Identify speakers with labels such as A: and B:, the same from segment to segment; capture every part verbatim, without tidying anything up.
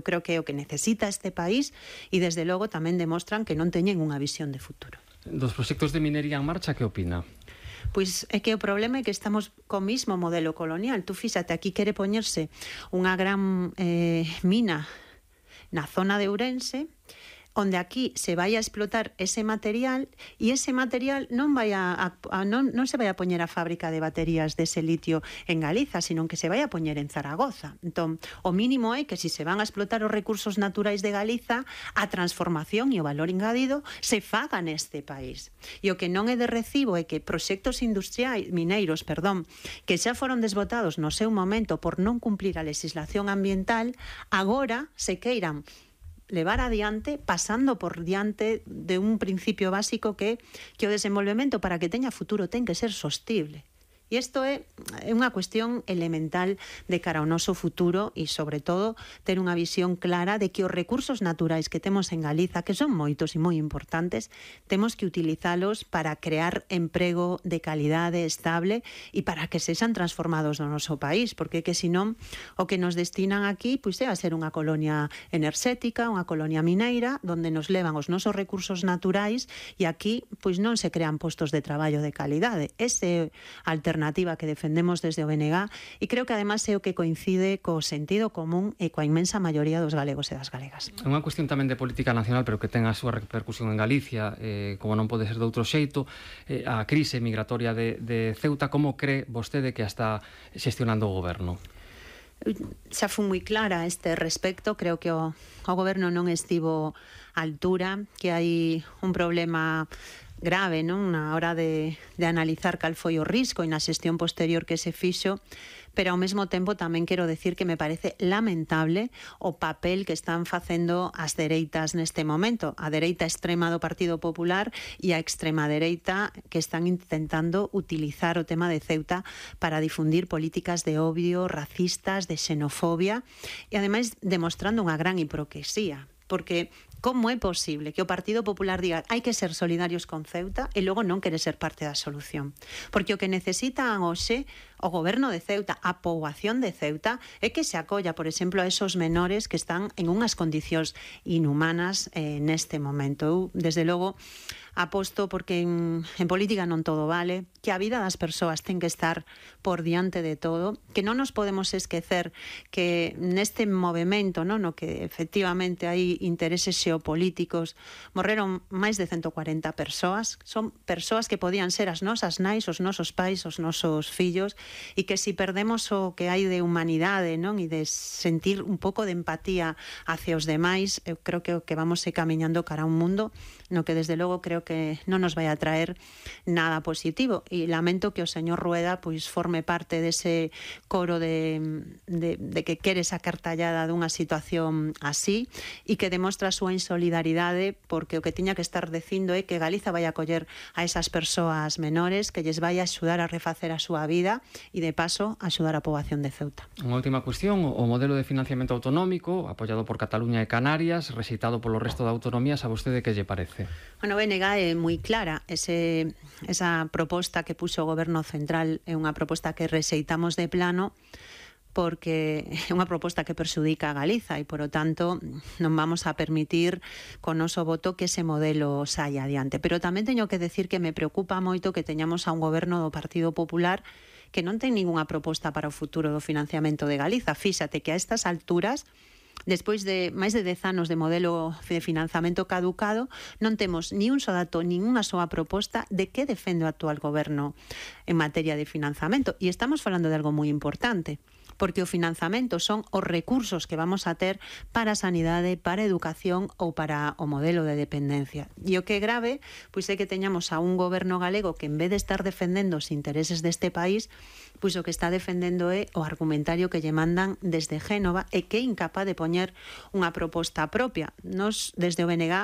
A: creo que é o que necesita este país e desde logo tamén demostran que non teñen unha visión de futuro.
B: Dos proxectos de minería en marcha, que opina?
A: Pois é que o problema é que estamos co mismo modelo colonial. Tú fíxate, aquí quere poñerse unha gran eh, mina na zona de Ourense, onde aquí se vai a explotar ese material e ese material non vai a, a, a non, non se vai a poñer a fábrica de baterías dese litio en Galiza, sino que se vai a poñer en Zaragoza. Entón, o mínimo é que se se van a explotar os recursos naturais de Galiza, a transformación e o valor engadido se faga neste país. E o que non é de recibo é que proxectos industriais, mineiros, perdón, que xa foron desbotados no seu momento por non cumplir a legislación ambiental, agora se queiran levar adiante, pasando por diante de un principio básico que, que o desenvolvemento para que teña futuro ten que ser sostible. E isto é unha cuestión elemental de cara ao noso futuro e, sobre todo, ter unha visión clara de que os recursos naturais que temos en Galiza, que son moitos e moi importantes, temos que utilizalos para crear emprego de calidade estable e para que sexan transformados no noso país, porque que senón o que nos destinan aquí pois é a ser unha colonia enerxética, unha colonia mineira, onde nos levan os nosos recursos naturais e aquí pois non se crean postos de traballo de calidade. Ese alternativa alternativa que defendemos desde o B N G e creo que además é o que coincide co sentido común e coa inmensa maioría dos galegos e das galegas.
B: É unha cuestión tamén de política nacional, pero que ten a súa repercusión en Galicia, eh, como non pode ser de outro xeito, eh, a crise migratoria de, de Ceuta. Como cree vostede que a está xestionando o goberno?
A: Xa fui moi clara a este respecto, creo que o, o goberno non estivo á altura, que hai un problema grave, non, na hora de, de analizar cal foi o risco e na xestión posterior que se fixo, pero ao mesmo tempo tamén quero decir que me parece lamentable o papel que están facendo as dereitas neste momento, a dereita extrema do Partido Popular e a extrema dereita que están intentando utilizar o tema de Ceuta para difundir políticas de odio, racistas, de xenofobia e ademais demostrando unha gran hipocresía, porque como é posible que o Partido Popular diga hai que ser solidarios con Ceuta e logo non quere ser parte da solución? Porque o que necesitan hoxe o goberno de Ceuta, a poboación de Ceuta, é que se acolla, por exemplo, a esos menores que están en unhas condicións inhumanas eh, neste momento. Eu, desde logo, aposto porque en, en política non todo vale, que a vida das persoas ten que estar por diante de todo, que non nos podemos esquecer que neste movimento, non, no que efectivamente hai intereses xeopolíticos, morreron máis de ciento cuarenta persoas, son persoas que podían ser as nosas nais, os nosos pais, os nosos fillos, e que si perdemos o que hai de humanidade, non, e de sentir un pouco de empatía hacia os demais, eu creo que o que vamos é camiñando cara a un mundo no que desde logo creo que non nos vai a traer nada positivo, e lamento que o señor Rueda pois forme parte dese coro de, de, de que quere sacar tallada dunha situación así e que demostra a súa insolidaridade, porque o que tiña que estar dicindo é que Galiza vai a acoller a esas persoas menores, que lles vai a axudar a refacer a súa vida e de paso axudar a poboación de Ceuta.
B: Unha última cuestión, o modelo de financiamento autonómico apoiado por Cataluña e Canarias, rexeitado polo resto de autonomías, a vostede que lle parece?
A: Bueno, o B N G é moi clara, ese, esa proposta que puxo o Goberno Central é unha proposta que rexeitamos de plano, porque é unha proposta que perxudica a Galiza e, por o tanto, non vamos a permitir con noso voto que ese modelo saia adiante. Pero tamén teño que decir que me preocupa moito que teñamos a un goberno do Partido Popular que non ten ningunha proposta para o futuro do financiamento de Galiza. Fíxate que a estas alturas, despois de máis de dez anos de modelo de financiamento caducado, non temos ni un só dato, nin unha soa proposta de que defende o actual goberno en materia de financiamento. E estamos falando de algo moi importante, porque o financiamento son os recursos que vamos a ter para a sanidade, para a educación ou para o modelo de dependencia. E o que é grave, pois é que teñamos a un goberno galego que, en vez de estar defendendo os intereses deste país, pois o que está defendendo é o argumentario que lle mandan desde Génova e que é incapaz de poñer unha proposta propia. Nos, desde o B N G,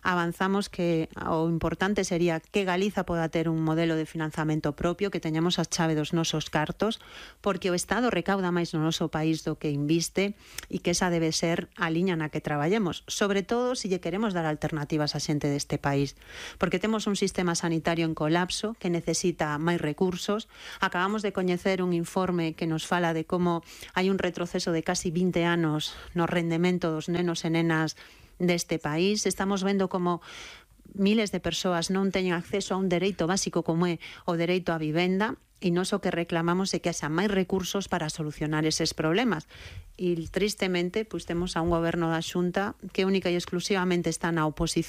A: avanzamos que o importante sería que Galiza poda ter un modelo de financiamento propio, que teñamos a chave dos nosos cartos, porque o Estado recauda máis máis no noso país do que inviste e que esa debe ser a liña na que traballemos, sobre todo se lle queremos dar alternativas á xente deste país, porque temos un sistema sanitario en colapso que necesita máis recursos. Acabamos de coñecer un informe que nos fala de como hai un retroceso de casi vinte anos no rendemento dos nenos e nenas deste país. Estamos vendo como miles de persoas non teñen acceso a un dereito básico como é o dereito á vivenda, e nós o que reclamamos é que haxa máis recursos para solucionar eses problemas. E tristemente, pois temos a un goberno da Xunta que única e exclusivamente está na oposición